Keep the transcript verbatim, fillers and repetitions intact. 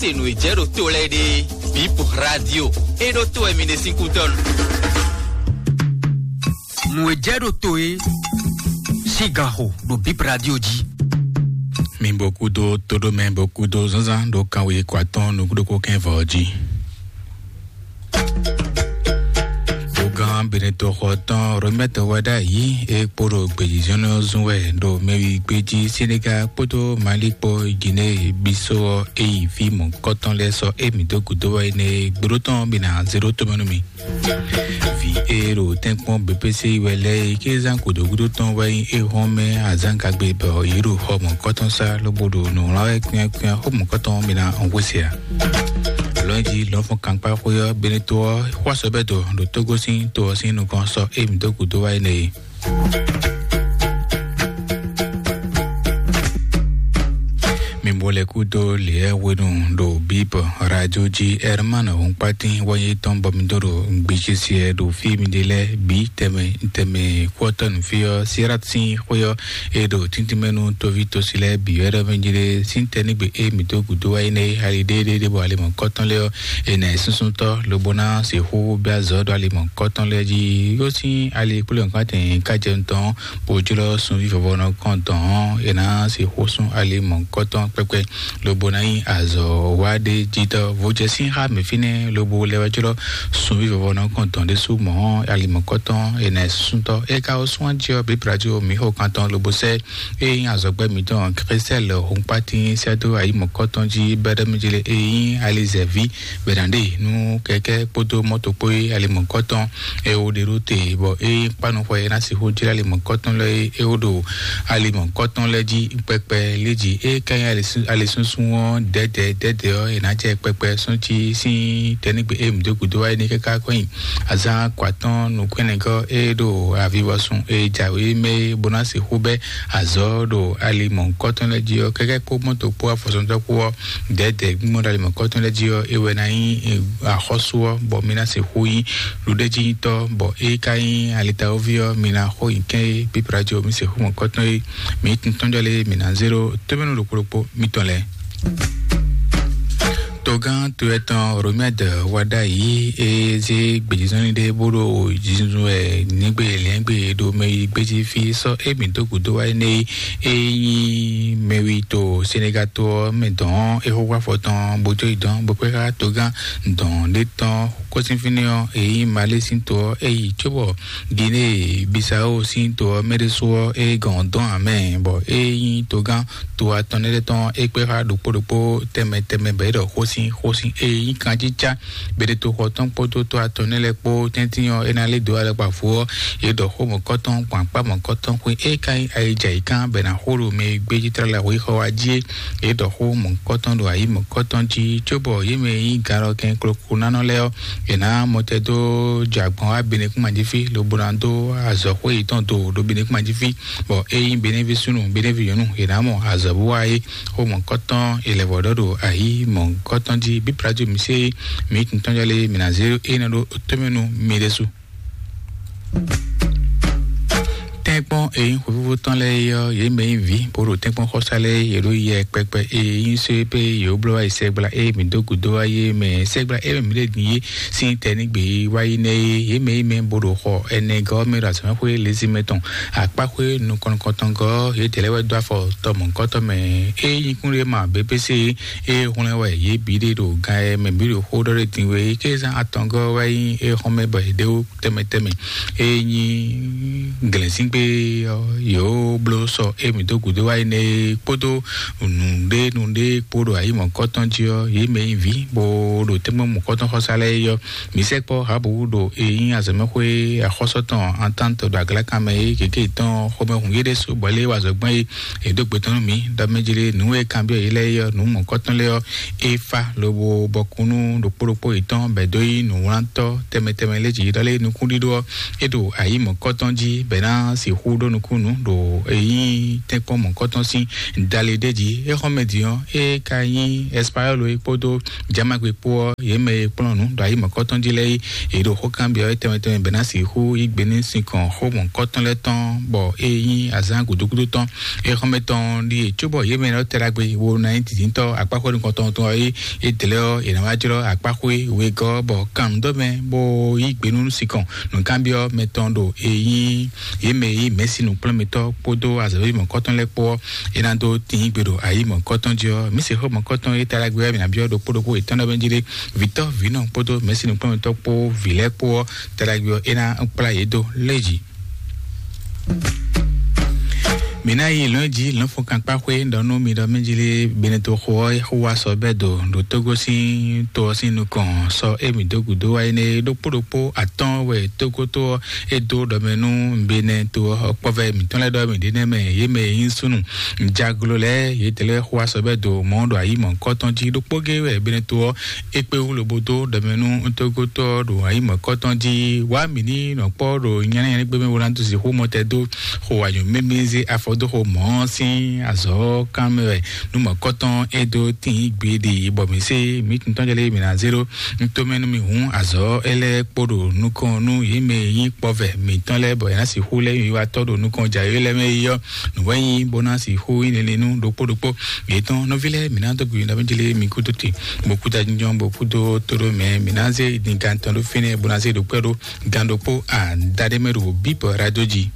Se nǔ e jɛ ɖo to lɛ́ɛ ɖe, Bip Radio, e ɖo to wɛ mi ɖe sín kútɔ́ nu. Nǔ e jɛ ɖo to e sín gan xo ɖo Bip Radio jí. Mi bɔ kúdó tóɖómɛ bɔ kúdó zánzán ɖo kanwe kɔ atɔn nukúɖokpó kɛn vɔ jí. Bugán Benetɔxɔ tɔn Romɛtɔ wɛ ɖ'ayǐ e kpo ɖo gbějínjɔ́n ɔ́ zun wɛ ɖo mɛwi gbéjí Senegal kpódó Mali kpó Guinée Bissau ɔ́ e yi fí mɔ̌kɔtɔn lɛ́ɛ sɔ́ émí dó gǔdo wɛ énɛ́ e gbóɖó tɔn ɔ́ bǐ ná zé ɖó tomɛ nú mì. Vǐ e ɖo tɛ́nkpɔ́n B P C wɛ lɛ́ɛ e ké zán gǔdo gúdo tɔn wɛ nyí éhɔ́nmɛ azǎngagbe bɔ yě ɖo xɔ mɔ̌kɔtɔn sá lobo ɖo nǔwlán wɛ kwínyákwínyá xó mɔ̌kɔtɔn mì ná ɔ́n hwesí ǎ. Lɔ̌nyijǐ lɔ̌nfɔ́n kankpá xwé ɔ́ Benetó ɔ́ xwá sɔ bɛ́ dɔ ɖo Tógó sín to ɔ́ sín nukɔn sɔ́ émí dó gǔdo wá énɛ́ e. Mi bo lɛ kú dó lě hwenu ɖo Bíbɔ radio jí Herman Honkpatin wáyé tɔn bɔ mi dó ɖo gbéjé siɛ ɖo fí mi ɖe lɛ́ɛ bǐ tɛmɛ tɛmɛ kú ɔ́ tɔn nǔ fí ɔ́ Sirat sín xwé ɔ́ e ɖo tíntímɛ nú tóví tosi lɛ́ɛ bǐ wɛ ɖɔ mɛ jí ɖe sín tɛ́ nígbe e mǐ dó gǔdo wá énɛ́ e ali ɖéeɖéeɖé bɔ ali mɔ̌kɔtɔn lɛ́ɛ ɔ́ è nǎ e súnsúntɔ́ lobo ná sixú bɛ́ azɔ̌ ɖo ali mɔ̌kɔtɔn lɛ́ɛ jí. Yó sín ali kplé nǔkpántɛn ká jɛ nukɔn bó jlɔ́ sunví vɔvɔnɔ kɔn dɔn ɔ́, è nǎ sixú sún ali mɔ̌kɔtɔn kpɛkpɛ lobo ná nyí azɔ̌ wa ɖé jítɔ́. Vodjɛsín xá mǐ fínɛ́ lobo lɛ́ wá jlɔ́ sunví vɔvɔnɔ kɔn dɔn ɖésú mɔ̌ ali mɔ̌kɔtɔn è nǎ e súnsúntɔ́. É ka wá sún jí ɔ́, bǐ Brazil mǐ xo kantɔn lobo sɛ́ e nyí azɔ̌gbɛ́ mǐtɔn Christelle Honkpatin sɛ́ dó ayǐ mɔ̌kɔtɔn jí bɛ́ɖɛ́mɛjlé e nyí alizɛ̌ví bɛ̌ ná ɖe nú kɛkɛ́ kpódó mɔ́to kpó e ali mɔ̌kɔtɔn e wó ɖe ɖó te, bɔ é nyí kpánuxɔ e ná sixú jlá ali mɔ̌kɔtɔn lɛ́ɛ é wó ɖo ali mɔ̌kɔtɔn lɛ́ɛ jí kpɛkpɛ lé jí. É ka nyí ali sú- ali súnsún ɔ́ dɛ̌dɛ̌ dɛ̌dɛ̌ ɔ́, è nǎ jɛ kpɛkpɛ sɔ́ cí sín tɛ́nígbe e mǐ dó gǔdo wá é ní káká kɔn nyi azǎn kɔ atɔ́ɔ́n nukúnnɛgɔ́ e ɖo avivɔsun e jǎwe mɛ é bó ná sixú bɛ́ azɔ̌ ɖo ali mɔ̌hunkɔtɔn lɛ́ɛ jí ɔ́, kɛ́kɛ́ kpó mɔ́to kpó afɔsɔntɔ́ kpó ɔ́, dɛ̌dɛ̌ gbígbɔ́n ɖo ali mɔ̌hunkɔtɔn lɛ́ɛ jí ɔ́, é wɛ ná nyí, eh, axɔ́sú ɔ́, bɔ mi ná sixú nyí ɖuɖéjínjítɔ́, bɔ é ka nyí alitawóví ɔ́, mi ná xo nyi kɛ́n é, pípla jí ɔ́, mi sixú mɔ̌hunkɔtɔn é, mi tintɔ́njɔ lé, mi ná zé ɖó tómɛ́nú ɖokpó ɖokpó mitɔn lɛ́ɛ. Togán to etɔn Romɛd wá ɖ'ayǐ e zé gbějízɔ́nlin ɖé bó ɖo jǐnjɔ́n wɛ nígbe lɛ́ngbé ɖo mɛ yi gbéjí fí sɔ́ émí dó gǔdo wá énɛ́ e nyí mɛwi to Senegal to ɔ́ mɛ dɔn é xó xó afɔ tɔn bó tó yi dɔn bó kpé xá togán dɔn ɖé tɔn kɔ́sínfínɛ́ ɔ́ e nyí Malé sín to ɔ́ é yi cóbɔ Guinée Bissau sín to ɔ́ mɛ ɖésú ɔ́ é gɔn dɔn amɛ bɔ é nyí togán to atɔn lɛ́ɛ tɔn é kpé xá ɖokpó ɖokpó tɛnmɛ tɛnmɛ bɔ é ɖɔ xósin xósin e nyí kanjíjá bɛɖetoxɔ tɔn kpódó to atɔn lɛ́ɛ kpó tɛ́ntin ɔ́ é ná lé dó alɔkpa fó ɔ́ é ɖɔ xó mɔ̌kɔtɔn gbɔn akpá mɔ̌kɔtɔn xwé é ka nyí ayidja yi kán bɛ ná xó ɖo mɛ e gbé jí tlala xwé xɔ wá jí é é ɖɔ xó mɔ̌kɔtɔn ɖo ayǐ mɔ̌kɔtɔn jí cóbɔ yě mɛ e nyí ganlɔkɛn kloklonánɔ lɛ́ɛ ɔ́ è nǎ mɔtɛ dó jɛ agbɔn wá benekúnma jí fí lobo ná dó azɔ̌xwé yětɔn do ɖo benekúnma jí fí bɔ é nyí benévi súnnu benévi nyɔ̌nu è nǎ mɔ azɔ̌ bó wá é xó mɔ̌kɔtɔn è lɛ̌ vɔ ɖɔ ɖo ayǐ mɔ̌kɔtɔn jí bí plato mi sé mi tun tɔn jɔ lé mi ná zé é ná ɖó tómɛnu mi ɖésú. Tɛ́nkpɔ́n e nyí xwefífó tɔn lɛ́ɛ é ɔ́, yě mɛ nyí vǐ bó ɖo tɛ́nkpɔ́n xɔsá lɛ́ɛ yě ɖo yɛ kpɛkpɛ e nyí só é pé yě wó bló wá yi sɛgbla e mǐ dó gǔdo wá yé mɛ sɛgbla e mǐ ɖe din yé sín tɛ́ ní gbě wá yi nɛ́ é. Yě mɛ nyí mɛ bó ɖo xɔ ɛnɛ gɔ́ mɛ ɖo azɔ̌mɛxwé lézímɛ tɔn akpáxwé nukɔn nukɔntɔn gɔ́ yě dɛ̌ lɛ́ɛ wɛ dó afɔ tɔ mɔ̌hunkɔtɔn mɛ. É nyí kúnɖéma B P C e hwlɛ́n wɛ yě bǐ ɖe ɖo gan e mɛ bǐ ɖo xó ɖɔ ɖé din wé ké zán atɔngɔ́ wɛ nyí é xɔ́n mɛ bɔ è ɖe wó tɛnmɛ tɛnmɛ. É nyí glɛ̌nzíngbe ɔ́ yǒ bló sɔ émí dó gǔdo wá énɛ́ kpódó nǔɖé nǔɖé kpó ɖo ayǐ mɔ̌kɔtɔn jí ɔ́, yě mɛ nyí vǐ bó ɖo tɛ́nmɛ mɔ̌kɔtɔn xɔsá lɛ́ɛ é ɔ́, mǐ sɛkpɔ́ Habu ɖo e nyí azɔ̌mɛxwé axɔ́sɔ tɔn Antante ɖo aglakan mɛ é gěgé tɔn xomɛ hun yé ɖésú bɔ lé wa azɔ̌ gbɔn é è dó gbe tɔn nú mǐ ɖɔ mɛ jlé nǔ e kanbyɔ́ yě lɛ́ɛ é ɔ́, nǔ mɔ̌kɔtɔn lɛ́ɛ ɔ́, é fá lobo bɔ kúnnu ɖokpó ɖokpó yětɔn bɛ̌ dó nyí nǔwlántɔ́ tɛnmɛ tɛnmɛ lé jǐ ɖɔ lé nukúnɖíɖó ɔ́, é ɖo ayǐ mɔ̌kɔtɔn jí bɛ̌ ná sixú ɖó nukúnnú ɖo èyí tɛ́nkpɔ́n mɔ̌kɔtɔn sín dali ɖé jí. Éxɔ́mɛ din ɔ́, é ka nyí Espayɔ́lo é kpódó Jamagbe kpó ɔ́, yě mɛ e kplɔ́n nǔ ɖo ayi mɔ̌kɔtɔn jí lɛ́ɛ é, yě ɖo xó kanbyɔ́ é tɛnmɛ tɛnmɛ bɛ́ ná sixú yí gbe ní sinkɔn xó mɔ̌kɔtɔn lɛ́ɛ tɔn, bɔ é nyí azǎn gǔdo gúdo tɔn. Éxɔ́mɛ tɔn ɖíe cóbɔ yě mɛ ɔ́ tɛ ɖagbe wo ná nyí dǐndíntɔ́ akpáxwé nukɔntɔn tɔn ɔ́ é, é dlɛ́ ɔ́, è nǎ wá jlɔ́ akpáxwé wegɔ́ bɔ kan nǔ dɔ́ mɛ bó yí gbe nú sinkɔn nǔkanbyɔ́ mɛ tɔn ɖo èyí yě mɛ yí mɛ̌si nǔkplɔ́nmɛtɔ́ kpódó azɔ̌ví mɔ̌kɔtɔn lɛ́ɛ kpó ɔ́, é ná dó tín gbe ɖo ayi mɔ̌kɔtɔn jí ɔ́. Mǐ se xó mɔ̌kɔtɔn é ta ɖagbe wɛ mǐ ná byɔ́ ɖokpó ɖokpó yětɔn ɖɔ mɛ jí ɖé, vǐtɔ́ vǐnɔ kpódó mɛ̌si nǔkplɔ́nmɛtɔ́ kpó vǐ lɛ́ɛ kpó ɔ́, ta ɖagbe ɔ́ é ná kplá yě dó lé jí. Mǐ ná yi lɔ̌n jí lɔ̌nfɔ́nkankpáxwé ɖɔ nú mi ɖɔ mí jí lé Beneto xo ɔ́ xó wá sɔ bɛ́ do ɖo Tógó sín to ɔ́ sín nukɔn sɔ émí dó gǔdo wá énɛ́ ɖokpó ɖokpó atɔ́ɔ́n wɛ Tógó to ɔ́ é dó ɖɔ mɛ nú Beneto ɔ́ kpɔ́vɛ mǐtɔn lɛ́ɛ ɖɔ mǐ ɖe nɛ́ mɛ yě mɛ e nyí súnnu jaglo lɛ́ɛ yětɛn lɛ́ɛ xó wá sɔ bɛ́ do mɔ̌ ɖo ayi mɔ̌kɔtɔn jí ɖokpó gé wɛ Beneto ɔ́ é kpé wú lobo dó ɖɔ mɛ nú Tógótɔ́ ɖo ayi mɔ̌kɔtɔn jí wá mǐ ní nɔ kpɔ́ ɖo nyɛ́nɛ́nyɛ́nɛ́ gbé mɛ bó ná dó sixú mɔ tɛ dó xo anyǔ mímí zé afɔ dó xo mɔ̌ sín azɔ̌ kan mɛ wɛ nú mɔ̌kɔtɔn é dó tín gbeɖe bɔ mǐ sé mǐ tun tɔn jɛ lé mǐ ná zé ɖó nú tomɛ nú mì hǔn azɔ̌ é lɛ́ɛ kpo ɖo nukɔn nú yě mɛ e nyí kpɔvɛ mǐtɔn lɛ́ɛ bɔ è nǎ sixú lɛ́ yi wá tɔ́ ɖo nukɔn jǎwe lɛ́ɛ mɛ yi ɔ́ nǔwɛ́nyí bó ná sixú nyí lele nú ɖokpó ɖokpó yětɔn nɔví lɛ́ɛ mǐ ná dó gbe nɔví jɛ lé mi kúdó te bó kúta jínjɔ́n bó kúdó tóɖó mɛ mǐ ná zé dingantɔn ɖó fínɛ́ bó ná zé ɖokpɛ́ ɖó gan ɖokpó adaɖé mɛ ɖo bíbɔ radio jí.